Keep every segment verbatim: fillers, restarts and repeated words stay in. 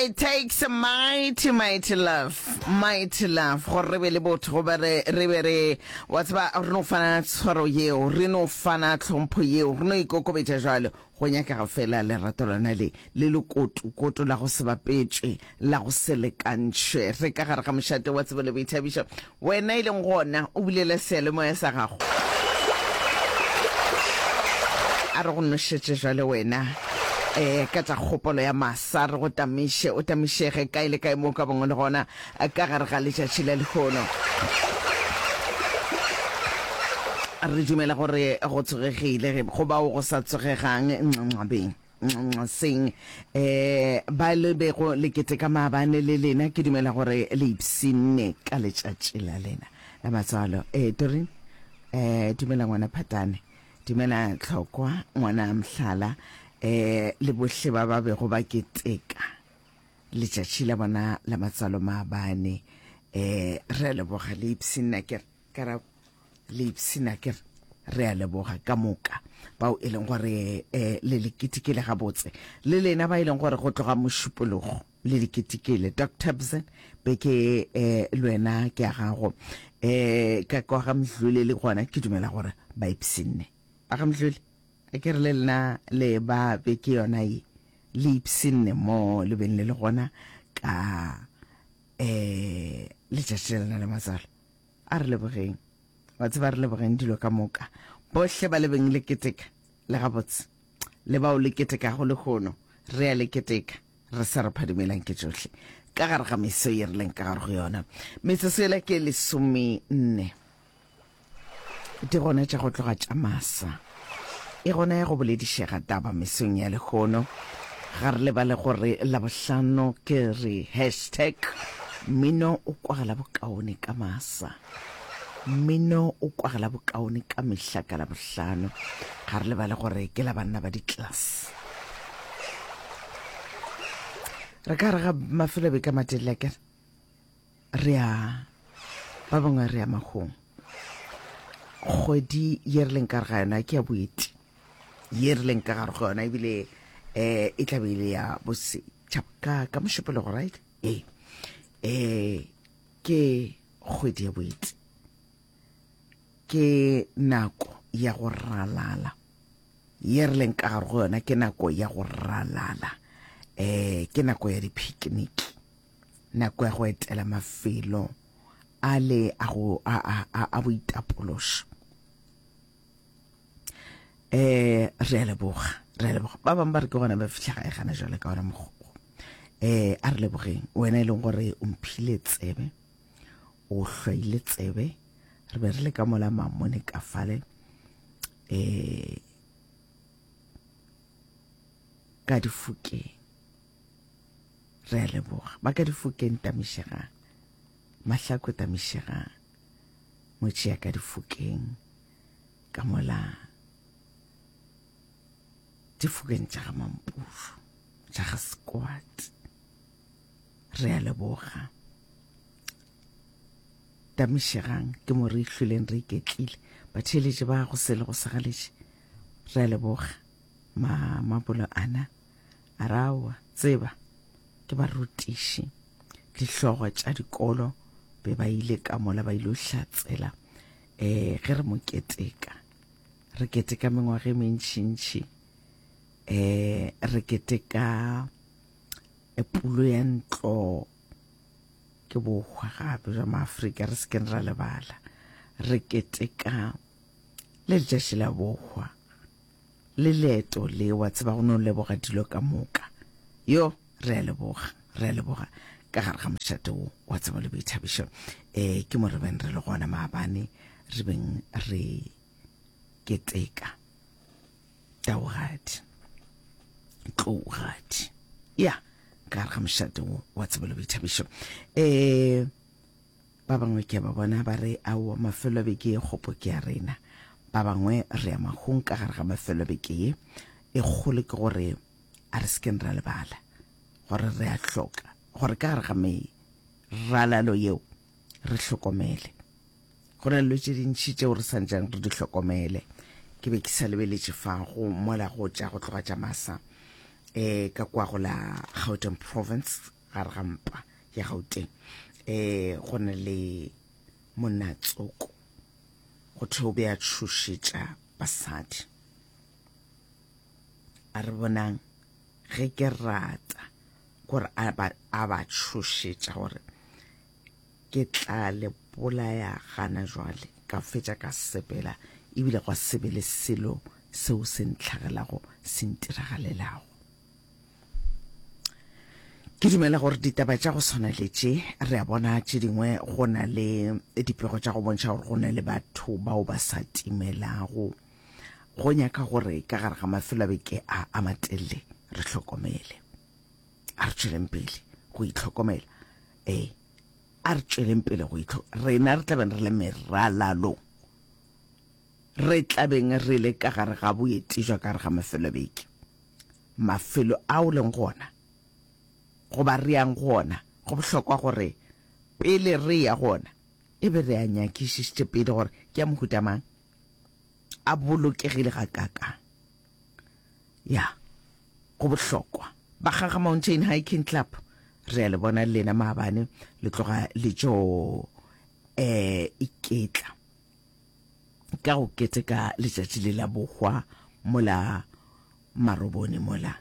It takes a mighty, mighty love, mighty love gore re be le botho, goba re re be re, wa tseba, re no fana tshwaro yeo, re no fana tlhompho yeo, re no ikokobetša jwalo. Go nyakega fela lerato lona le le lekoto koto la go se bapetšwe, la go se lekantšhwe. Re ka gare ga mošate wa tsebo le boithabišo. Wena e leng gona o bulela seyalemoya sa gago, a re go nošetše jwale wena um ka tša kgopolo ya masa, re go tamiše, o tamišege kae le kae mo o ka bangwe le gona ka gare ga letšatši la lehono. Re dumela gore go tsogegile go bao go sa tsogegang nxabeng seng um ba le bego le keteka maabane le lena, ke dumela gore le ipshinne ka letšatši la lena la matswalo. Eh Doreen, eh dumela ngwana Phatane, dumela Tlhokwa ngwana Mhlala, eh le bohle ba ba bego ba keteka letšatši la bona la matswalo maabane. Eh re a leboga, le ipshinna ke re karabo, le ipshina ke re re a leboga ka moka bao e leng gore eh le le ketekile gabotse, le lena ba e leng gore go tloga mošupologo le le ketekile. Doctor Bzen beke eh le wena ke ya gago, eh ka kwa ga Mdluli le gona ke dumela gore ba ipshinne. Ba ga Mdluli a ke re le lena le ba beke yona ye le ipshinne mo le beng le le gona ka eh letšatši la lena la matswalo. A re lebogeng, wa tseba, re lebogeng dilo ka moka, bohle ba le beng le keteka le gabotse, le bao le ketekago lehono, re a le keteka, re sa re phadimelang ke tšohle ka gare ga meso ye re leng ka gare go yona. Metsotso yela ke lesome nne di gona tša go tloga tša masa, e gona ya go boledišega taba mesong ya lehono. Ga re lebale gore Labohlano ke re hashtag mmino o kwagala bokaone ka masa, mmino o kwagala bokaone ka mehla ka Labohlano. Ga re lebale gore ke la banna ba di-class. Re ka re ga mafelo a beke a matelele akere re ya ba bangwe re ya mahong. Kgwedi ye re leng ka gare ga yona ke ya boeti, ye re leng ka gare ga yona ebile eh e tla be e le ya bosetšhaba ka ka mošupologo, right? Ee, eh ke kgwedi ya boeti, ke nako ya go ralala ye re leng ka gare go yona, ke nako ya go ralala, eh ke nako ya di-picnic, nako ya go etela mafelo a le a go a a a, a boitapološo. Eh re a leboga, re a leboga. Ba bangwe ba re ke gona ba fihla gae gana jwale ka ona mokgwa. Eh a re lebogeng wena e leng gore o mphile tsebe, o hlwaile tsebe, re be re le ka mola mamone ka fale eh ka difokeng. Re a leboga ba ka difokeng, tamišegang Mahlako, tamišegang ngwetši ya ka difokeng, ka mola difokeng tša ga Mampuru, tša ga Squat. Re a leboga, tamišegang, ke mo re ihlweleng re iketlile. Batheeletši ba go sele go sagaletše, re a leboga. Ma mabolo ana a rawa tseba ke barutiši, dihlogo tša dikolo be ba ile ka mola ba ile hlatsela eh ge re mo keteka, re keteka mengwaga e mentšintši, eh re keteka pulo ya ntlo ke bohwa gape jwa maAfrika, re se keng ra lebala, re keteka le letšatši la bohwa le leeto le, wa tseba, go no leboga dilo ka moka. Yo re a leboga, re a leboga ka gare ga mošate wo wa tsebo le boithabišo. Eh ke mo re beng re le gona maabane, re beng re keteka taogadi, tlougadi ya ka gare ga mošate wo wa tsebo le boithabišo. Eh ba bangwe ke ba bona ba re aowa, mafelo a beke ye kgopo ke ya rena. Ba bangwe re ya mahung ka gare ga mafelo a beke ye e kgolo, ke gore a re se keng ra lebala gore re a hloka gore ka gare ga meralalo yeo re hlokomele. Go na le dilo tše dintši tšeo re santšeng re di hlokomele. Ke be ke sa lebeletše fa go mola go tša go tloga tša masa, um ka kwa go la Gauteng province, gare ga mpa ya Gauteng, um go na le monna tsoko go thwe o be a tšhošetša basadi. A re bonang ge ke rata gore a ba a ba tšhošetša gore ke tla le bolaya gana jwale, ka fetša ka sepela, ebile gwa se be le selo seo se ntlhagelago se ntiragalelago. Ke dumela gore ditaba tša go swana le tše, re a bona tše dingwe go na le dipego tša go bontšha gore go na le batho bao ba sa timelago. Go nyaka gore ka gare ga mafelo a beke a a matelele re hlokomele. A re tšweleng pele go itlhokomela. Ee, a re tšweleng pele go itlho rena re tlabeng re le meralalong. Re tlabeng re le ka gare ga boeti jwa ka gare ga mafelo a beke. Mafelo ao leng gona goba re yang go ona, go bohlokwa gore pele re ya go ona e be re a nyakišišitše pele gore ke a mohuta mang, a bolokegile gakaakang. Ya, go bohlokwa. Bakgaga Mountain Hiking Club, re a le bona le lena maabane le tloga le tšo eh iketla ka go keteka letšatši le la bohwa mola Marobone mola.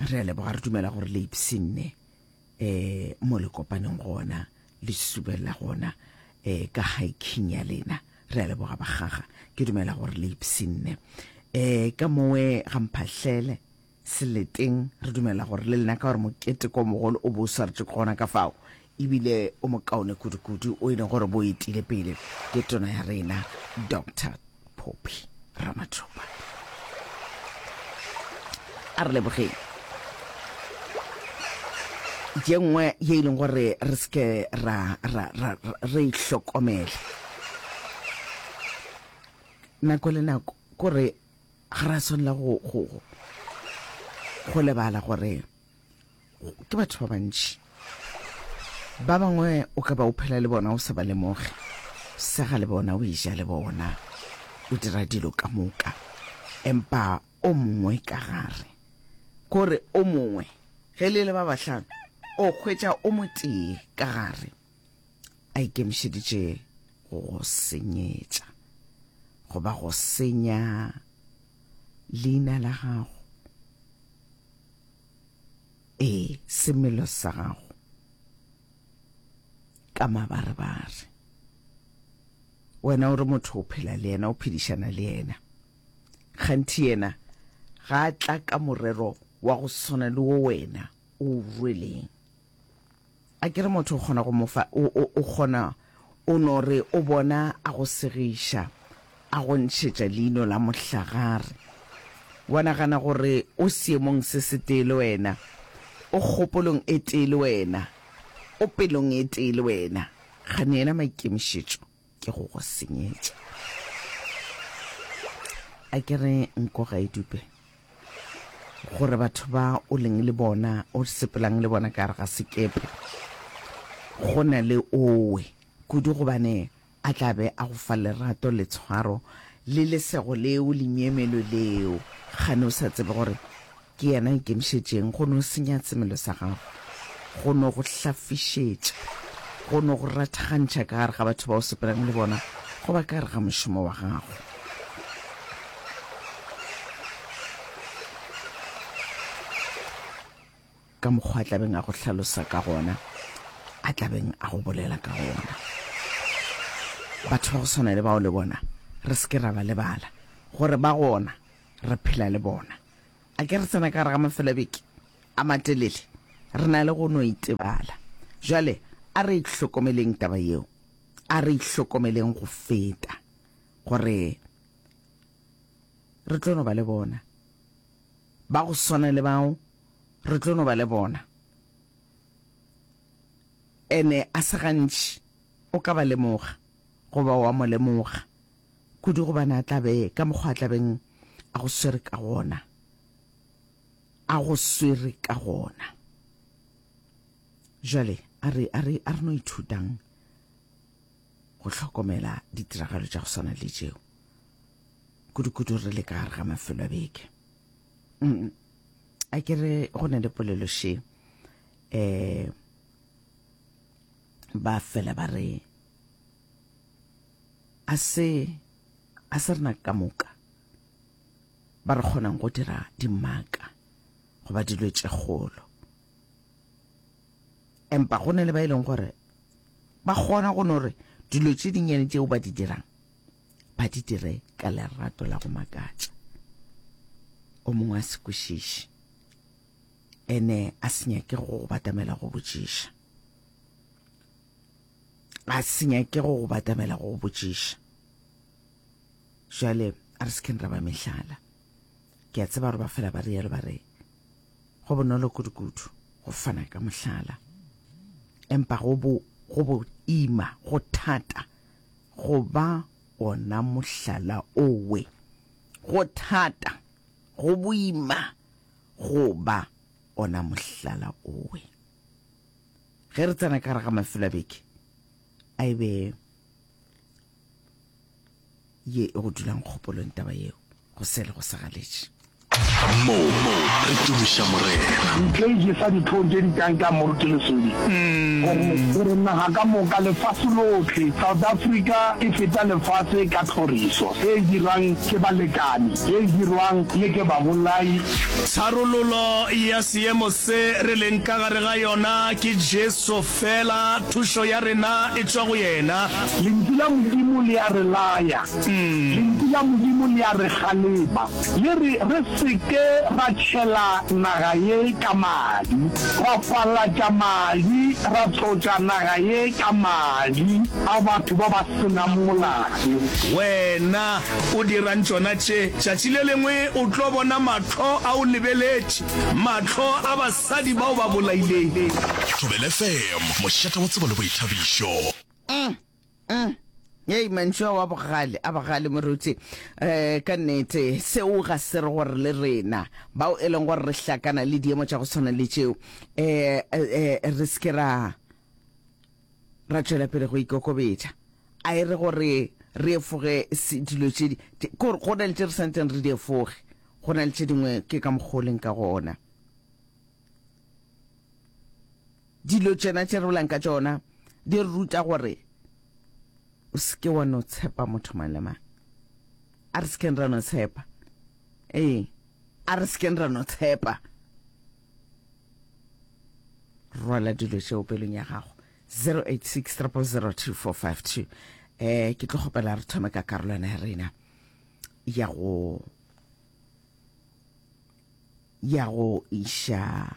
Re a leboga, re dumela gore le ipshinne eh mo le kopaneng gona, le subela gona eh ka hiking ya lena. Re a leboga bakgaga, ke dumela gore le ipshinne eh ka mowe ga Mphahlele Seleteng. Re dumela gore le lena ka gore moketeko o mogolo o bo o swaretše gona ka fao, ebile o mokaone kudu-kudu o e leng gore bo etile pele ke tona ya rena Doctor Phophi Ramathuba. A re lebogeng. Ye nngwe ye e leng gore re se ke ra ra ra re ihlokomele nako le nako, kore ga ra swanela go go go lebala gore ke batho ba bantši. Ba bangwe o ka ba o phela le bona o sa ba lemoge, sega le bona, o eja le bona, o dira dilo ka moka, empa o mongwe ka gare, kore o mongwe ge le le ba bahlano o hwetša o motee ka gare a ikemišeditše go go senyetša goba go senya leina la gago, ee, semelo sa gago ka mabarebare. Wena o re motho o phela le yena, o phedišana le yena, kganthi yena ga a tla ka morero wa go swana le wo wena o rweleng. A ke re motho o kgona go mo fa, o, o, o kgona, o no re o bona a go segiša, a go ntšhetša leino la mohlagare, wa nagana gore o seemong se setee le wena, o kgopolong e tee le wena, o pelong e tee le wena, kgane yena maikemišetšo ke go go senyetša. A ke re nko ga e dupe gore batho ba o leng le bona, o sepelang le bona ka gare ga sekepe, go na le owe kudu, gobane a tla be a go fa lerato le tshwaro le lesego leo le myemelo leo, kgane o sa tsebe gore ke yena a ikemišetšeng go no senya semelo sa gago, go no go hlafišetša, go no go rathagantšha ka gare ga batho ba o sepelang le bona goba ka gare ga mošomo wa gago. Ka mokgwa a tlabeng a go hlalosa ka gona, a tlabeng a go bolela ka gona. Batho ba go swana le bao le bona re se ke ra ba lebala gore ba gona, re phela le bona. A ke re tsena ka gare ga mafelo a beke a matelele, re na le go no itebala. Jwale a re itlhokomeleng taba yeo, a re itlhokomeleng go feta gore re tlo no ba le bona ba go swana le bao, re tlo no ba le bona. Ene a se gantši o ka ba lemoga goba wa mo lemoga kudu, gobane a tla be ka mokgwa a tlabeng a go swere ka gona, a go swere ka gona. Jwale a re a re a re no ithutang go hlokomela ditiragalo tša go swana le tšeo, kudu-kudu re le ka gare ga mafelo a beke. Mm. A ke re go na le polelo še eh ba fela ba re a se a se rena ka moka ba re kgonang go dira dimaka goba dilo tše kgolo empa go na le ba e leng gore ba kgona go no re dilo tše dinnyane tšeo ba di dirang ba di dire ka lerato la go makatša. O mongwe a se kwešiše, ene a se nyake go go batamela go botšiša. A se nyake go go batamela go go botšiša. Jwale a re se keng ra ba mehlala. Ke a tseba gore ba fela ba rialo ba re go bonolo kudu-kudu go fana ka mohlala, empa go bo go bo ima go thata go ba ona mohlala owe. Go thata, go boima go ba ona mohlala owe. Ge re tsena ka gare ga mafelo a beke, a e be ye e go dulang kgopolong taba yeo, go sele go sa galetše. Mo re tumiša Morena. Ntle e jesa dihlong tše di kang ka Moruti Lesodi gore gore naga ka moka, lefase lohle, South Africa e feta lefase ka tlhoriso e e dirwang ke balekani, ye e dirwang le ke babolai. Tharololo ya seemo se re leng ka gare ga yona ke Jesu fela, thušo ya rena e tšwa go yena. Lentšu la Modimo le a re laya. Lentšu la Modimo le a re kgalema. Le re re se ke ra tšhela naga ye ka madi, ra falatša madi, ra tlotša naga ye ka madi a batho ba ba se nang molato. Wena o dirang tšona tše? Tšatši le lengwe o tlo bona mahlo a o lebeletše, mahlo a basadi ba o ba bolaileng. Thobela F M, mošate wa tsebo le boithabišo. Mm, mm. Hei, mantšu ao a bogale, a bogale moruti. Eh, ka nnete, seo ga se re gore le rena bao e leng gore re hlakana le diemo tša go tshwana le tšeo, eh, eh, re se ke ra ra tšwela pele go ikokobetša. A e re gore re efoge dilo tše di, gore go na le tše re santseng re di efoge, go na le tše dingwe ke ka mokgwa o leng ka gona. Dilo tšena tše re bolang ka tšona di re ruta gore o se ke wa no tshepa motho mang le mang. A re se keng ra no tshepa. Ee, a re se keng ra no tshepa. Rwala dilo tšeo pelong ya gago. zero eight six, triple zero, two four five two. Eh, ke tlo kgopela re thome ka karolwana ya rena ya go ya go iša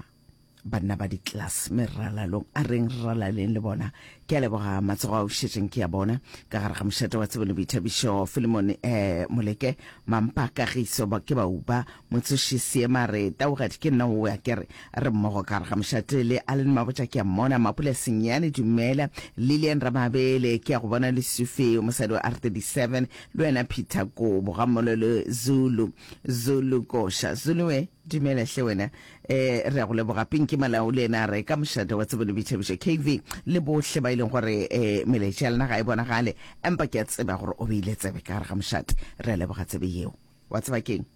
banna ba di-class meralalong, a reng re ralaleng le bona. Ke a leboga matsogo a o šetšeng ke ya bona ka gare ga mošate wa tsebo le boithabišo. Filemon um Moleke Mampa Kagiso ba ke bauba Motsoši Seema re taugadi ke nna o ya ke re re mmogo ka gare ga mošate le Allen Mabotja ke a mmona. Mapula Senyane dumela. Lilian Ramabele ke ya go bona. Lesufi mosadi wa R thirty-seven le wena Peter Kobo ga mmogo le Zulu Zulu Kosha Zulu we dumela hle wena, eh re ya go leboga. Pinki Malao le ena re ka mošate wa tsebo le boithabišo. K V le bohle ba e leng gore eh melaetša ya lena ga e bonagale, empa ke a tseba gore o beile tsebe ka gare ga mošate, re a leboga tsebe yeo. Wa tseba keng?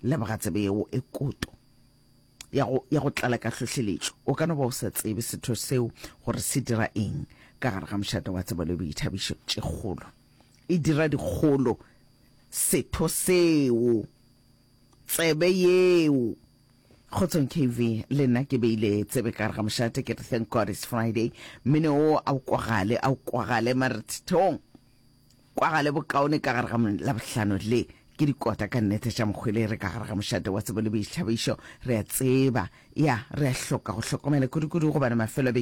Leboga tsebe yeo e koto ya go ya go tlala ka hlohleletšo. O ka no ba o sa tsebe setho seo gore se dira eng ka gare ga mošate wa tsebo le boithabišo. Tše kgolo e dira dikgolo setho seo, tsebe yeo. Kgotsong K V, le nna ke beile tsebe ka gare ga mošate, ke re thank God it's Friday. Mmino o a o kwagale, a o kwagale marethong, kwagale bokaone ka gare ga Labohlano le ke dikota ka nnete tša mokgwele. Re ka gare ga mošate wa tsebo le boithabišo. Re a tseba ya re a hloka go hlokomela kudu-kudu gobane mafelo a beke.